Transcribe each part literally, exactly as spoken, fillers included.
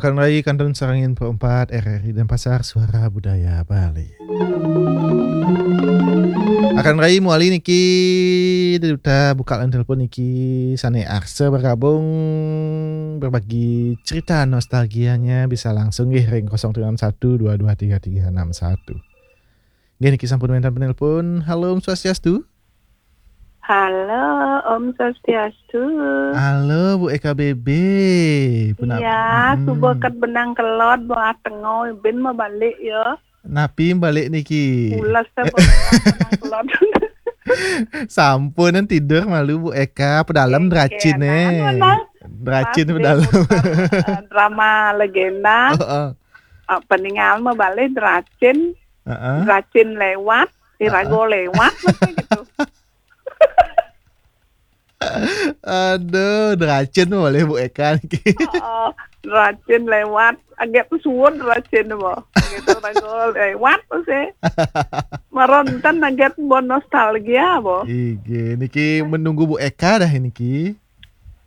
Akan rai kantun sareng Info empat R R I Denpasar, Suara Budaya Bali. Akan rai mawali niki, duta buka line telepon niki, sane arsa bergabung berbagi cerita nostalgianya bisa langsung nggih ring kosong tiga enam satu dua dua tiga tiga enam satu. Nggih niki sampun wenten penelpon. Halo, Om Swastiastu. Halo, Om Swastiastu. Halo, Bu Eka Bebe. Puna-, Iya, mm-mm. Suba ket benang kelod, bawah tengo, bin mabalik ya. Napi balik niki? Pules ta, eh, bawah tengo kelod. Sampun tidur malu, Bu Eka, pedalem. Kengken, dracin, eh. Anu, nang. Dracin pas pedalem. Dia muter, eh, drama legenda. Heeh. Eh, peningal mabalik dracin. Heeh. Dracin lewat, heeh. Irago lewat, macam gitu. Aduh, dracin boleh Bu Eka niki. Oh, dracin lewat. Aget suud dracin, bo. Gitu, irago lewat, sih. Maronten aget bo nostalgia, bo. Inggih, niki menunggu Bu Eka dah niki.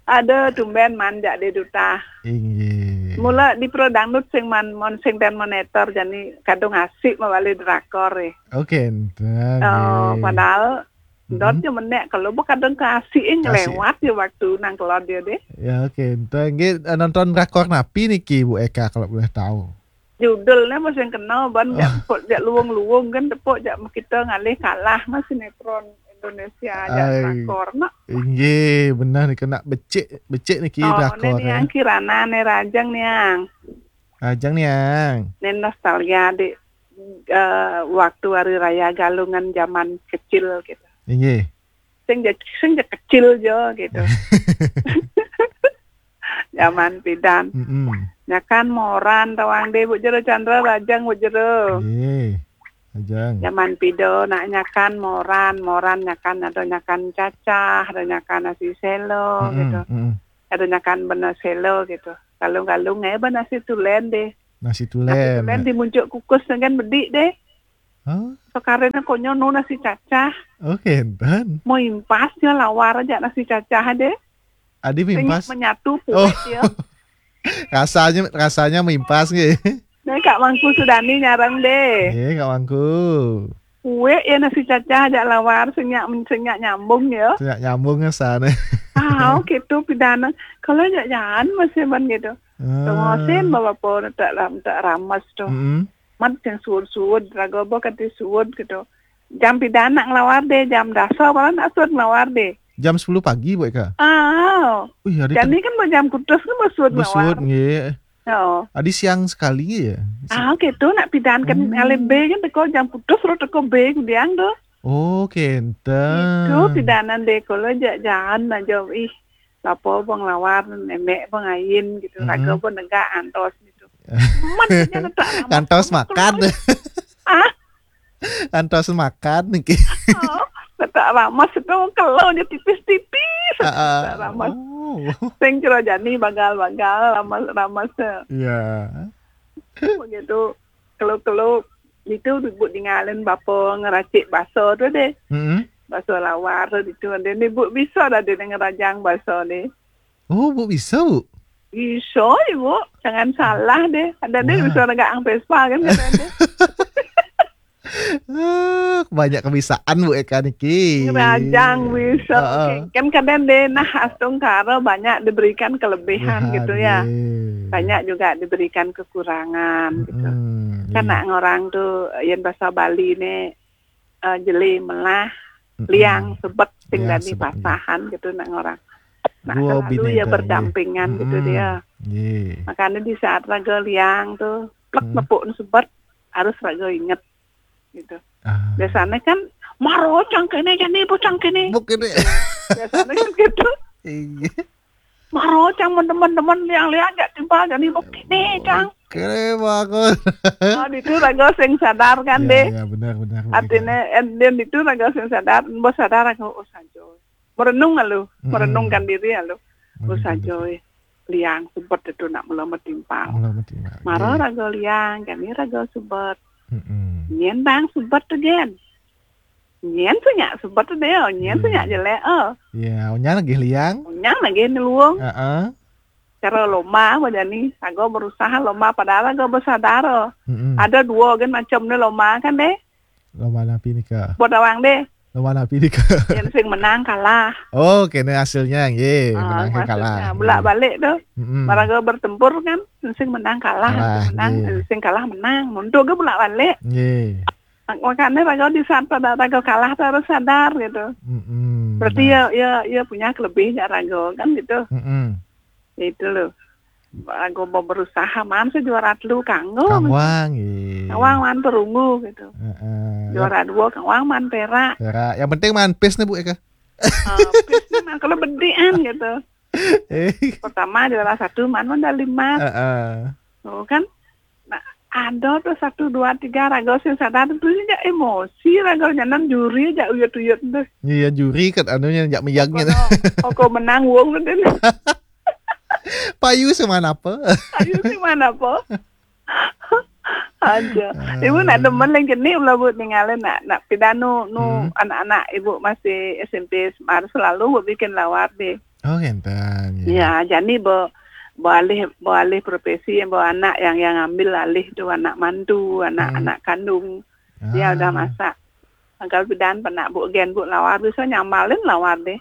Ada tumben man jak di duta. Inggih. Mula di pro dangdut sing man, mon sing ten monitor, jani kadung asik mawali drakor, eh. Oke, enten, oh, nggih. Padahal, mm-mm. Dot je menek, kalau bu kadung kasih, eh, kasih. Ngelewat ya waktu nang kelod dia deh. Ya, oke, enten. Nggih, eh, nonton drakor napi niki, Bu Eka, kalau boleh tahu? Judulnya masih kena, ban, oh. Jak, jak luwung-luwung kan, tepuk jak kita ngalih kalah mas sinetron Indonesia, jak ai, drakor, nak. Inggih, benar niki nak becik, becik niki. Oh, drakor, ni yang ya. Kirana ni Rajang ni yang. Rajang ni yang. Ni nostalgia di, eh, waktu hari raya Galungan zaman kecil gitu. Inggih. Sing je, sing je kecil je gitu. Zaman pidan. Mm-mm. Nyakan moran tawang deh, Bu Jero Chandra, Rajang, Bu Jero. Nggih. Rajang. Zaman pido nak nyakan moran, moran nyakan ada nyakan cacah, ada nyakan nasi selo, mm-mm, gitu. Mm-mm. Ada nyakan bena selo gitu. Galung-galung eh bena nasi tulen deh. Nasi tulen. Nasi tulen dimunjuk kukus dengan bedik deh. Hah? Sekarang konyo nu nasi cacah. Oke, enten. Mau impas ya lawar aja nasi cacah deh. Adi sing impas? Menyatu, oh, puwet ya. Rasanya, rasanya mimpas nggih. Nah, Kak Mangku Sudani nyarang deh. Nggih, Kak Mangku. Puwet ya nasi cacah ajak lawar, senyak, senyak nyambung ya. Senyak nyambung ya sana. Ah, oke tuh pidana. Kalau ajak jalan masih man gitu. Ah. Tengosin bapak pun tak ram-, tak ramas tuh. Mm-mm. Mat sing suud-suud, raga ba kanti suud gitu. Jam pidan nak ngelawar deh, jam dasa malah nak suud ngelawar deh. Jam sepuluh pagi, Bu Eka? Ah. Wih, hari jani kan jam kutus kan ba suud ngelawar. Ba suud, nggih. Oh. Adi siang sekali ya? Ah, gitu, nak pidan kan, mm, ngalih be kan teko jam kutus, ro teko be kudiang tu. Oh, kenten. Itu pidanan deh, kalau jak jalan aja, ih, lapo bang lawar, nenek bang ain gitu, mm-mm, raga bang negak antos gitu. Mat, ngantos makan. Ah? Antos makan niki. Oh, letak ramas itu kalau je tipis-tipis. Ah, ah. Letak ramas. Oh. Sing kira jani bagal-bagal ramas, ramas. Ya. Begitu. Kalau-kalau itu bu dingalin bapa ngeracik baso tu deh. Mm-mm. Baso lawar tu itu deh. Ni bu bisa dah dia ngerajang baso ni. Oh, Bu bisa, Bu? Bisa, Ibu. Jangan salah deh. Ada deh bisa negak ang Vespa kan, kata deh. Ah, banyak kebisaan, Bu Eka niki. Ngerajang bisa. Heeh. Kan kadang deh, nah, astungkara banyak diberikan kelebihan gitu ya. Nggih. Banyak juga diberikan kekurangan gitu. Mm-mm, kan iya. Nak ngorang tu, yen bahasa Bali ni, eh, jeli melah, mm-mm, liang sebet sing liang dadi sebet, nggih, pasahan gitu nak ngorang. Nak dua selalu bini ya dah, berdampingan gitu, mm-mm, dia. Nggih. Makanya di saat raga liang tu, plek, mm, nepuk sebet, harus raga inget gitu. Ah. Biasanya kan, maro cang kene, jani bu cang kene. Bu kene. Biasanya kan gitu. Iya. Maro cang teman-teman liang-liang jak timpal jani bukini cang. Oke, bagus. Oh, itu raga sing sadar kan, ya, deh. Ya, benar, benar, benar. Artinya, eh, dan itu raga sing sadar, mbok sadar aku, oh, sajo. Merenung lalu, mm-mm, merenungkan diri lalu. Oh, sajo, eh. Liang sebet itu nak mula metimpal. Mula metimpal. Maro, iya, raga liang, kami raga sebet. Mm-mm. Nyen bang sebet tu, Gen. Nyen tu nyak sebet tu deh, nyen tu, iya, nyak jelek, oh. Iya, nyen lagi liang. Nyen lagi ni luung. Heeh. Cara lomba aja nih, raga berusaha lomba padahal raga besadar. Mm-mm. Ada dua gen macam nih lomba kan deh. Lomba napi nika? Buat awang deh. Lomba napi nika? Yang sing menang kalah. Oh, kena hasilnya, ye. Ah, menang kalah. Bulak balik tuh. Mm-mm. Maraga bertempur kan, sing menang kalah, kalah, sing menang, ye. Sing kalah menang. Untuk ke bulak balik. Ye. Makanya raga di saat pada raga kalah tuh harus sadar gitu. Mm-mm, berarti ya, ya, ya punya kelebihnya raga kan gitu. Mm-mm. Itu loh. Aku mau berusaha man sejuara telu kanggo. Kangwang, iya. Kangwang man perunggu gitu. Heeh. Juara dua kangwang man perak. Perak. Yang penting man pis nih Bu Eka. Ah, pis nih man kalau bedian gitu. Eh. Pertama juara satu man man dari lima. Heeh. Oh kan. Nah, ada tuh satu dua tiga raga sing sadar tuh aja emosi raga nyanan juri aja uyut-uyut tuh. Iya juri kan anunya jak meyaknya. Pokoknya, pokok menang wong tuh. Payu sing man apa? Payu sing man apa? Aja. Ibu nak demen lagi ni ulah buat ninggalin nak nak pidanu nu anak-anak ibu masih S M P semar selalu buat bikin lawar deh. Oh ngenten. Ya, jadi bo beralih beralih profesi bo anak yang yang ambil alih tu anak mantu, anak anak kandung. Dia udah masak. Angkal pidan penak bu gen bu lawar bisa nyamalin lawar deh.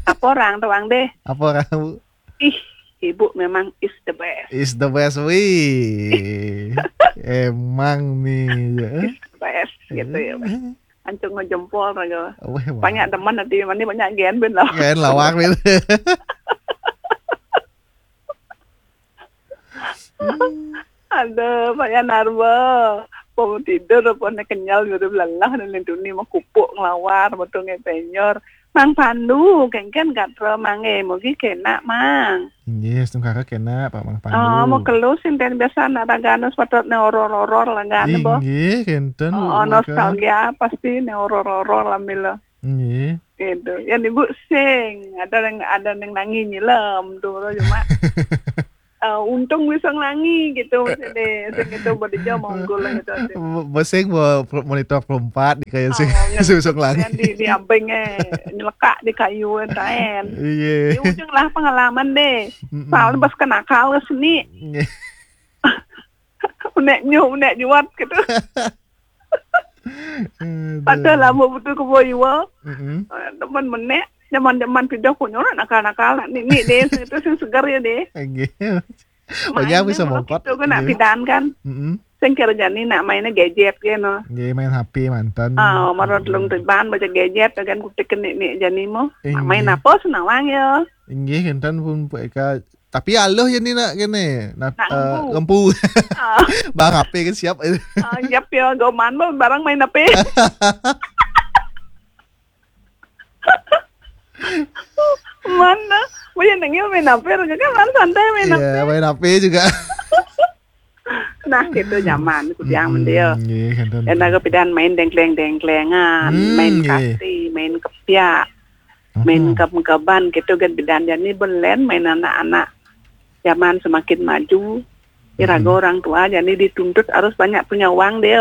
Apa orang tuang deh? Apa orang Bu? Ih, ibu memang is the best. Is the best, wih. Emang nih ya. Is the best gitu ya. Ancung ngejempol raga. Weh, banyak teman nanti mana banyak gen ben lah. Gen lawak ben. Ada banyak narba. Pom tidur apa nak kenyal gitu belalah dan lintuni mau kupuk ngelawar betul ngepenyor. Mang Pandu, kengken gatra mange, mugi kena mang. Inggih, setungkara kena Pak Mang Pandu. Oh, mau kelu sinten biasa anak ragana sepatut ne oror-oror lah kan bo. Inggih, kenten. Oh, nostalgia pasti ne oror-oror lah mila. Inggih. Gitu. Yang ibu sing, ada yang ada yang nangis nyilam tu cuma. Uh, untung bisa ngelangi gitu maksudnya. Sing itu berdija monggol gitu. Besing bawa monitor perempat di kayak sing bisa ngelangi. Di di abeng eh nyelekak di kayu taen. Iya. Di ujung lah pengalaman deh. Soalnya pas kenakal ke sini. Menek nyu, menek juat gitu. Padahal lama betul ke boy iwa. Teman menek, zaman-zaman pindah punya orang nakal-nakal ni ni deh itu sing segar ya deh. Oke. Banyak bisa mongkot. Itu kan nak pindahan kan. Sing kira jani nak mainnya gadget ya no. Nggih main H P mantan. Ah, marot lung tiban baca gadget kan kutik ni ni jani mo. Main apa senawang ya. Inggih enten pun Bu Eka. Tapi aluh ya ni nak kene. Nak uh, ngempu. Ngempu. Bang H P kan siap. Ah, siap ya goman mo barang main H P. Mana? Wih nengil main H P kan kan santai main H P. Iya, main H P juga. Nah, gitu zaman kudiang mendil. Nggih, enten. Enak kepidan main dengkleng-dengklengan, main kasti, main kepiak, main keb-keban gitu kan bidan jani belen main anak-anak. Zaman semakin maju, iraga orang tua jani dituntut harus banyak punya uang deh.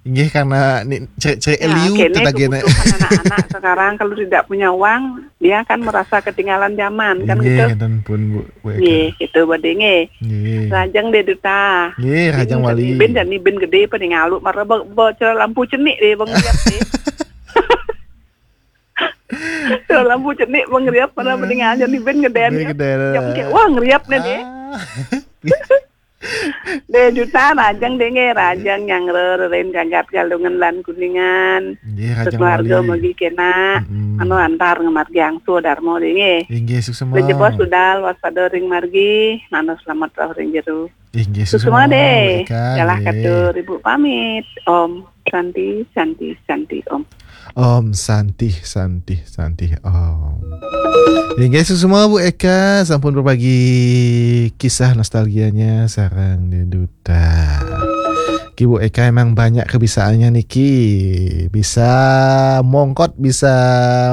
Inggih karena ni cek cek ya, eliu kene tadi kebutuhan anak-anak sekarang kalau tidak punya uang dia akan merasa ketinggalan zaman kan gitu. Inggih dan pun Bu. Nggih, gitu badhe nggih. Nggih. Rajang deh duta. Nggih, rajang wali. Bin dan bin gede pada ngalu marah bocor lampu cenik deh bang lihat deh. Lampu cenik bang ngeriap pada mending aja di bin ngeden. Bin ngeden. Jam ke wah ngeriap nih deh. Deh juta rajang deh nggih rajang nyangre reren gagat galungan lan kuningan. Nggih rajang keluarga wali. Magi kena anu antar ngemargi angsu darmo deh nggih. Inggih suksema. Jebos budal waspada ring margi nano selamat roh ring jeru. Inggih suksema deh. Jalah katur ibu pamit. Om Santi Santi Santi Om. Om Santi Santi Santi Om. Inggih semua Bu Eka sampun berbagi kisah nostalgianya sarang di duta. Ki Bu Eka emang banyak kebisaannya niki. Bisa mongkot, bisa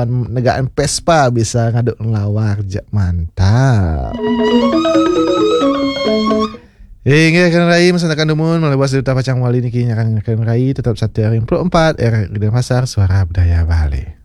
negakin Vespa, bisa ngaduk lawar. Mantap. Inggih kena rai masanakan dumun malebas duta pacang wali niki nyakan kena rai tetap satu ring puluh empat R Denpasar Suara Budaya Bali.